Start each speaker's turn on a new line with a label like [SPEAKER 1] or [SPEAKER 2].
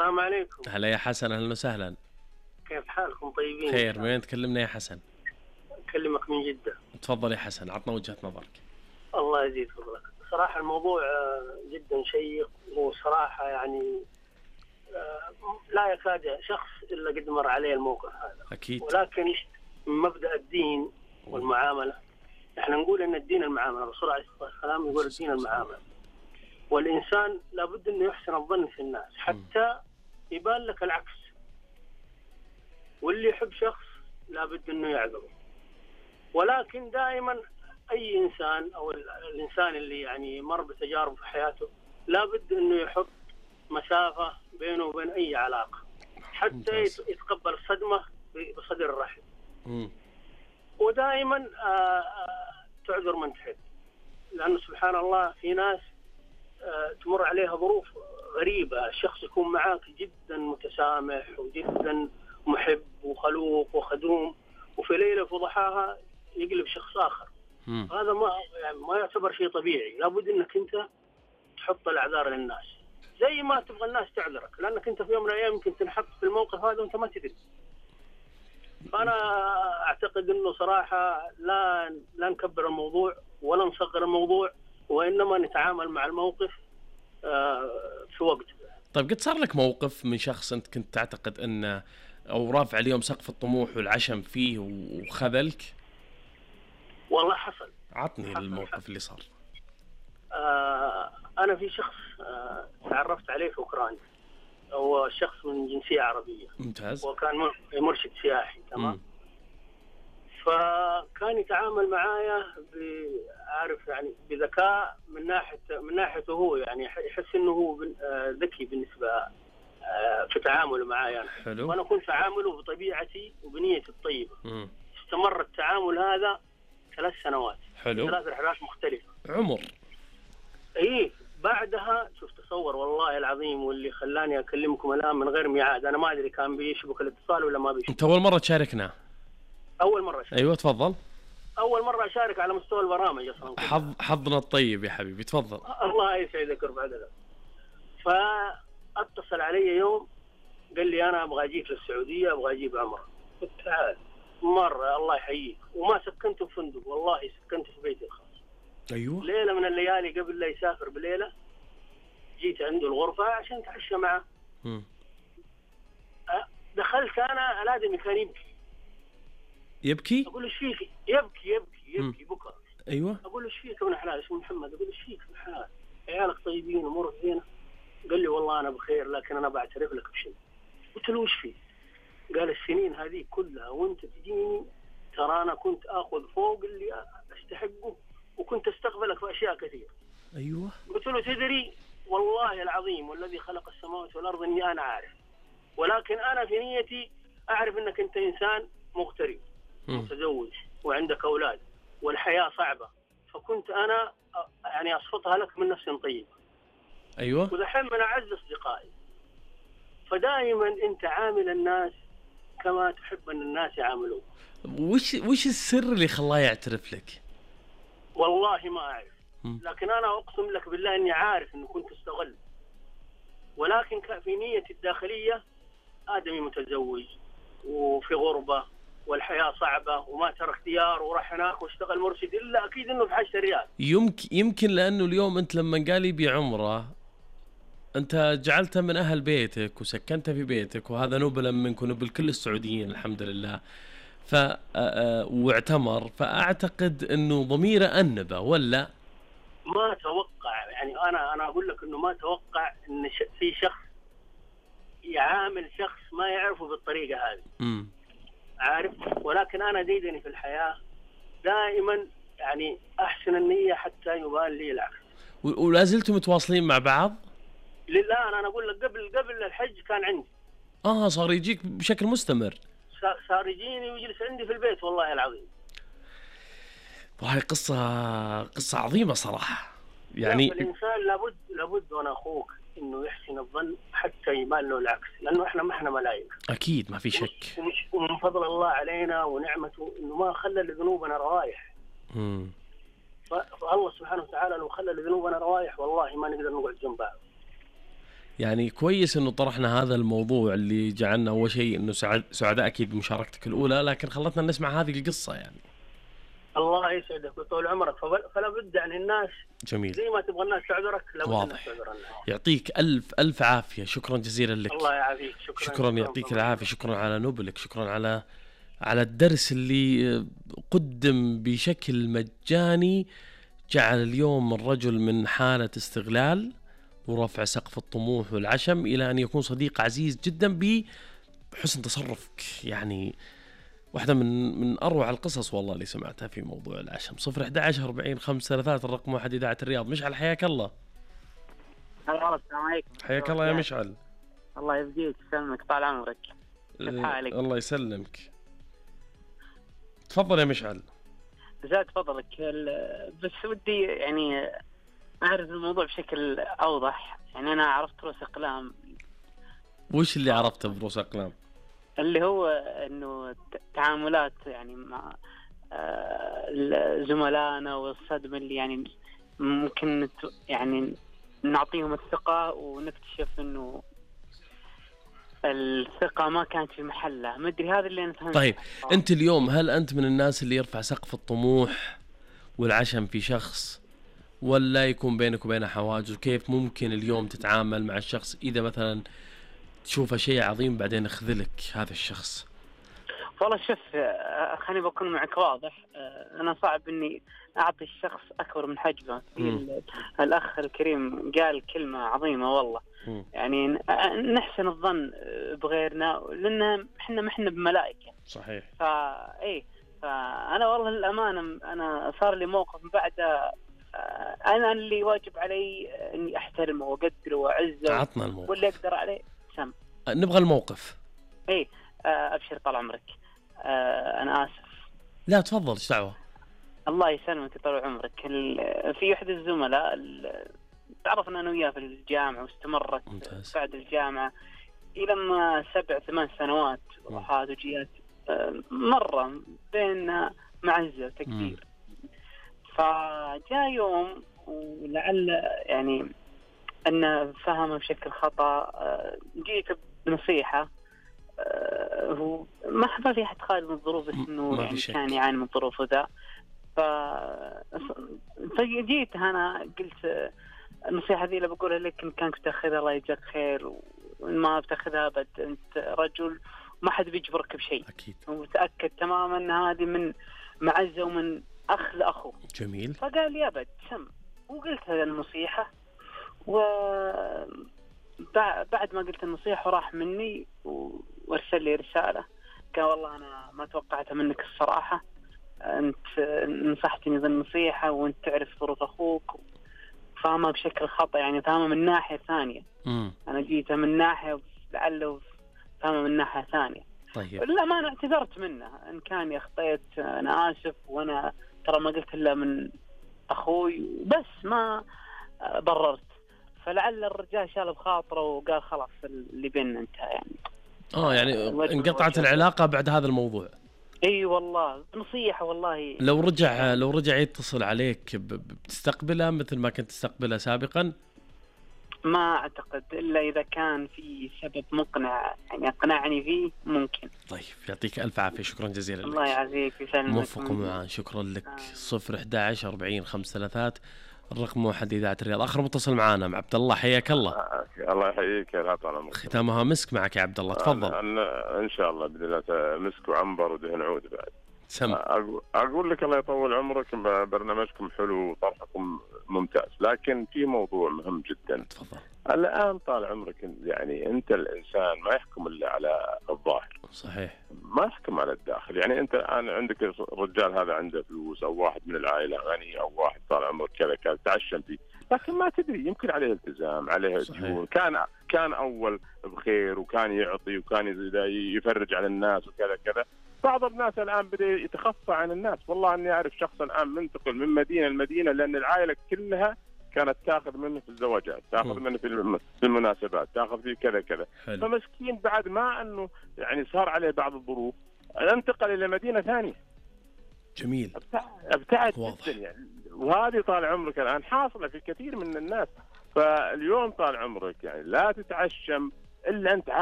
[SPEAKER 1] السلام عليكم.
[SPEAKER 2] هلا يا حسن، أهلا وسهلا.
[SPEAKER 1] كيف حالكم؟ طيبين؟
[SPEAKER 2] خير. من وين تكلمنا يا حسن؟
[SPEAKER 1] أكلمك من جدة.
[SPEAKER 2] تفضل يا حسن، عطنا وجهة نظرك.
[SPEAKER 1] الله يزيد فضلك. صراحة الموضوع جدا شيق، وصراحة يعني لا يكاد شخص إلا قد مر عليه الموقف هذا.
[SPEAKER 2] أكيد.
[SPEAKER 1] ولكن من مبدأ الدين والمعاملة، احنا نقول ان الدين المعاملة. الرسول عليه الصلاة والسلام يقول الدين المعاملة، والإنسان لابد انه يحسن الظن في الناس حتى يبان لك العكس. واللي يحب شخص لابد انه يعذره. ولكن دائما اي انسان او الانسان اللي يعني مر بتجارب في حياته لابد انه يحط مسافة بينه وبين اي علاقة حتى يتقبل الصدمة بصدر الرحب. ودائما تعذر من تحب، لأنه سبحان الله في ناس تمر عليها ظروف غريبة، الشخص يكون معاك جدا متسامح وجدا محب وخلوق وخدوم، وفي ليلة في ضحاها يقلب شخص آخر. هذا ما يعتبر شيء طبيعي. لابد أنك أنت تحط الأعذار للناس زي ما تبغى الناس تعذرك، لأنك أنت في يوم من الأيام يمكن تنحط في الموقف هذا وأنت ما تدري. فأنا أعتقد أنه صراحة لا نكبر الموضوع ولا نصغر الموضوع، وإنما نتعامل مع الموقف في وقت.
[SPEAKER 2] طيب، قد صار لك موقف من شخص أنت كنت تعتقد أنه أو رافع اليوم سقف الطموح والعشم فيه وخذلك؟
[SPEAKER 1] والله حصل.
[SPEAKER 2] عطني الموقف اللي صار.
[SPEAKER 1] أنا في شخص تعرفت عليه في أوكرانيا، هو شخص من جنسية عربية.
[SPEAKER 2] ممتاز.
[SPEAKER 1] وكان مرشد سياحي. تمام. فكان يتعامل معايا عارف يعني بذكاء من ناحيته هو، يعني يحس انه هو ذكي بالنسبة في تعامله معايا.
[SPEAKER 2] حلو.
[SPEAKER 1] وانا كنت اعامله بطبيعتي وبنيتي الطيبة. استمر التعامل هذا 3 سنوات.
[SPEAKER 2] حلو.
[SPEAKER 1] 3 رحلات مختلفة.
[SPEAKER 2] عمر.
[SPEAKER 1] ايه. بعدها شفت تصور والله العظيم، واللي خلاني اكلمكم الان من غير ميعاد، انا ما ادري كان بيشبك الاتصال ولا ما بيشبك.
[SPEAKER 2] انت اول مرة تشاركنا؟
[SPEAKER 1] اول مرة أشارك.
[SPEAKER 2] ايوه تفضل.
[SPEAKER 1] اول مرة اشارك على مستوى البرامج اصلا.
[SPEAKER 2] حظنا الطيب يا حبيبي، تفضل.
[SPEAKER 1] الله يسعدك ورفع ذلك. فاتصل علي يوم قال لي انا ابغى اجيك للسعودية، ابغى اجيب عمرة. قلت تعال. مرة الله يحييك. وما سكنت في فندق، والله سكنت في بيتي الخاص.
[SPEAKER 2] ايوه.
[SPEAKER 1] ليلة من الليالي قبل لا يسافر بليلة جيت عنده الغرفة عشان اتعشى معه. دخلت انا الادمي كان
[SPEAKER 2] يبكي.
[SPEAKER 1] اقول ايش فيك؟ يبكي بكى.
[SPEAKER 2] ايوه.
[SPEAKER 1] اقول ايش فيك ابن حلال؟ اسمه محمد. اقول ايش فيك ابن حلال؟ عيالك طيبين وامورك زينه؟ قال لي والله انا بخير، لكن انا بعترف لك بشيء. قلت له ايش فيه؟ قال السنين هذه كلها وانت تجيني، ترى انا كنت اخذ فوق اللي استحقه، وكنت استقبلك في اشياء كثير.
[SPEAKER 2] ايوه.
[SPEAKER 1] قلت له تدري والله العظيم والذي خلق السماوات والارض اني انا عارف، ولكن انا في نيتي اعرف انك انت انسان مغترب متزوج وعندك اولاد والحياه صعبه، فكنت انا يعني اصفطها لك من نفس طيبه.
[SPEAKER 2] ايوه.
[SPEAKER 1] ودحين من اعز اصدقائي. فدائما انت عامل الناس كما تحب ان الناس يعاملوك.
[SPEAKER 2] وش السر اللي خلاه يعترف لك؟
[SPEAKER 1] والله ما اعرف، لكن انا اقسم لك بالله اني عارف انه كنت استغل، ولكن في نيتي الداخليه ادمي متزوج وفي غربه والحياه صعبه وما ترك ديار وراح هناك واشتغل مرشد، الا اكيد انه في حاجه ريال.
[SPEAKER 2] يمكن لانه اليوم انت لما قال لي بعمره انت جعلته من اهل بيتك وسكنته في بيتك، وهذا نبلا منك ونبل كل السعوديين الحمد لله. واعتمر، فاعتقد انه ضميره انبه ولا
[SPEAKER 1] ما اتوقع. يعني انا اقول لك انه ما اتوقع ان في شخص يعامل شخص ما يعرفه بالطريقه هذه. عارف. ولكن انا ديدني في الحياه دائما يعني احسن النيه حتى يبان لي العكس.
[SPEAKER 2] ولا زلتم متواصلين مع بعض؟
[SPEAKER 1] لله انا اقول لك قبل الحج كان عندي.
[SPEAKER 2] صار يجيك بشكل مستمر.
[SPEAKER 1] صار يجيني ويجلس عندي في البيت والله العظيم.
[SPEAKER 2] وهي قصة عظيمة صراحة. يعني
[SPEAKER 1] الإنسان لابد وأنا أخوك إنه يحسن الظن حتى يبان له العكس، لأنه إحنا ما إحنا ملائكة.
[SPEAKER 2] أكيد ما في شك.
[SPEAKER 1] ومن فضل الله علينا ونعمته إنه ما خلى لذنوبنا روايح. فالله سبحانه وتعالى لو خلى لذنوبنا روايح والله ما نقدر نقعد جنب بعض.
[SPEAKER 2] يعني كويس انه طرحنا هذا الموضوع اللي جعلنا اول شيء انه سعداء اكيد بمشاركتك الاولى، لكن خلتنا نسمع هذه القصة يعني.
[SPEAKER 1] الله يسعدك ويطول عمرك. فلا بد يعني الناس
[SPEAKER 2] جميل.
[SPEAKER 1] زي ما تبغى الناس تعذرك لابد الناس
[SPEAKER 2] واضح.
[SPEAKER 1] تعذرنا.
[SPEAKER 2] يعطيك الف عافية، شكرا جزيلا لك.
[SPEAKER 1] الله يعافيك.
[SPEAKER 2] شكرا يعطيك العافية، شكرا على نبلك، شكرا على الدرس اللي قدم بشكل مجاني، جعل اليوم الرجل من حالة استغلال ورفع سقف الطموح والعشم إلى أن يكون صديق عزيز جدا بحسن تصرفك. يعني واحدة من أروع القصص والله اللي سمعتها في موضوع العشم. 011-40-533 الرقم 1 إذاعة الرياض. مشعل حياك الله.
[SPEAKER 3] السلام عليكم.
[SPEAKER 2] حياك الله يا مشعل.
[SPEAKER 3] الله يبقيك يسلمك طال عمرك. كيف حالك؟
[SPEAKER 2] الله يسلمك. تفضل يا مشعل.
[SPEAKER 3] زاد فضلك. بس ودي يعني أعرف الموضوع بشكل أوضح. يعني أنا عرفت رؤوس أقلام.
[SPEAKER 2] وش اللي عرفته برؤوس أقلام؟
[SPEAKER 3] اللي هو إنه تعاملات يعني مع زملائنا والصدمة اللي يعني ممكن يعني نعطيهم الثقة ونكتشف إنه الثقة ما كانت في محلها. ما أدري هذا اللي أنا فهمته.
[SPEAKER 2] طيب أنت اليوم هل أنت من الناس اللي يرفع سقف الطموح والعشم في شخص، ولا يكون بينك وبينه حواجز؟ كيف ممكن اليوم تتعامل مع الشخص إذا مثلا تشوفه شيء عظيم بعدين يخذلك هذا الشخص؟
[SPEAKER 3] والله شوف، خليني بكون معك واضح. أنا صعب إني أعطي الشخص أكبر من حجمه. الأخ الكريم قال كلمة عظيمة والله. يعني نحسن الظن بغيرنا لأن إحنا بملائكة.
[SPEAKER 2] صحيح.
[SPEAKER 3] فأنا والله للأمانة أنا صار لي موقف بعد أنا اللي واجب علي إني أحترمه وأقدره وأعزه.
[SPEAKER 2] عطنا الموقف
[SPEAKER 3] واللي أقدر عليه سم.
[SPEAKER 2] نبغى الموقف.
[SPEAKER 3] أبشر طال عمرك. أنا آسف.
[SPEAKER 2] لا تفضل، ايش دعوة.
[SPEAKER 3] الله يسلمك يطول عمرك. في أحد الزملاء تعرفنا أنا وياه في الجامعة واستمرت
[SPEAKER 2] ممتاز.
[SPEAKER 3] بعد الجامعة إلى ما 7-8 سنوات وحات وجيات مرة بين معزة وتقدير. فجاء يوم ولعل يعني أن فهمه بشكل خطأ. جيت بنصيحة. هو ما في أحد خالد من الظروف، بس إنه يعني كان يعاني من الظروف ذا. فجيت أنا قلت النصيحة ذي اللي بقولها لك إن كانك بتاخذها الله يجزاك خير، وإن ما بتاخذها بد أنت رجل ما حد بيجبرك بشيء.
[SPEAKER 2] أكيد.
[SPEAKER 3] ومتأكد تماما أن هذه من معزة ومن أخ لأخوه.
[SPEAKER 2] جميل.
[SPEAKER 3] فقال لي أبد سم. وقلت هذه النصيحة، وبعد ما قلت النصيحة راح مني وارسل لي رسالة قال والله أنا ما توقعتها منك الصراحة. أنت نصحتني ذا النصيحة وأنت تعرف ظروف أخوك، فاهمها بشكل خطأ. يعني فاهمها من ناحية ثانية. أنا جيتها من ناحية لعله فاهمها من ناحية ثانية.
[SPEAKER 2] طيب.
[SPEAKER 3] لا ما أنا اعتذرت منه إن كان أخطيت. أنا آسف، وأنا ترى ما قلت إلا من أخوي بس ما بررت. فلعل الرجال شال بخاطره وقال خلاص اللي بيننا انتهى يعني.
[SPEAKER 2] انقطعت العلاقة بعد هذا الموضوع.
[SPEAKER 3] اي والله نصيحة والله.
[SPEAKER 2] لو رجع يتصل عليك بتستقبله مثل ما كنت تستقبله سابقا؟
[SPEAKER 3] ما اعتقد الا اذا كان في سبب مقنع يعني اقنعني فيه ممكن.
[SPEAKER 2] طيب يعطيك الف عافية، شكرا جزيلا لك.
[SPEAKER 3] الله يعافيك ويسلمك.
[SPEAKER 2] موفق ومعان. شكرا لك. 011-40-533 الرقم 1 إذاعة الرياض. آخر متصل معانا مع عبد الله. حياك الله.
[SPEAKER 4] الله يحييك يا طال.
[SPEAKER 2] ختامها مسك معك يا عبد الله. تفضل.
[SPEAKER 4] إن شاء الله بإذن الله مسك وعنبر ودهن عود بعد.
[SPEAKER 2] سم.
[SPEAKER 4] أقول لك الله يطول عمرك، برنامجكم حلو وطرحكم ممتاز، لكن في موضوع مهم جدا.
[SPEAKER 2] تفضل.
[SPEAKER 4] الآن طال عمرك يعني أنت الإنسان ما يحكم إلا على الظاهر.
[SPEAKER 2] صحيح.
[SPEAKER 4] ما يحكم على الداخل. يعني أنت الآن عندك الرجال هذا عنده فلوس، أو واحد من العائلة غني، أو واحد طال عمرك كذا تعشم فيه، لكن ما تدري يمكن عليه التزام، عليه ديون، كان أول بخير وكان يعطي وكان يفرج على الناس وكذا كذا. بعض الناس الآن بدأ يتخفى عن الناس. والله أني أعرف شخص الآن منتقل من مدينة لمدينة لأن العائلة كلها كانت تاخذ منه في الزواجات، تاخذ منه في المناسبات، تاخذ فيه كذا كذا. فمسكين بعد ما أنه يعني صار عليه بعض الظروف انتقل إلى مدينة ثانية.
[SPEAKER 2] جميل.
[SPEAKER 4] ابتعد جدا يعني. وهذه طال عمرك الآن حاصلة في كثير من الناس. فاليوم طال عمرك يعني لا تتعشم الا انت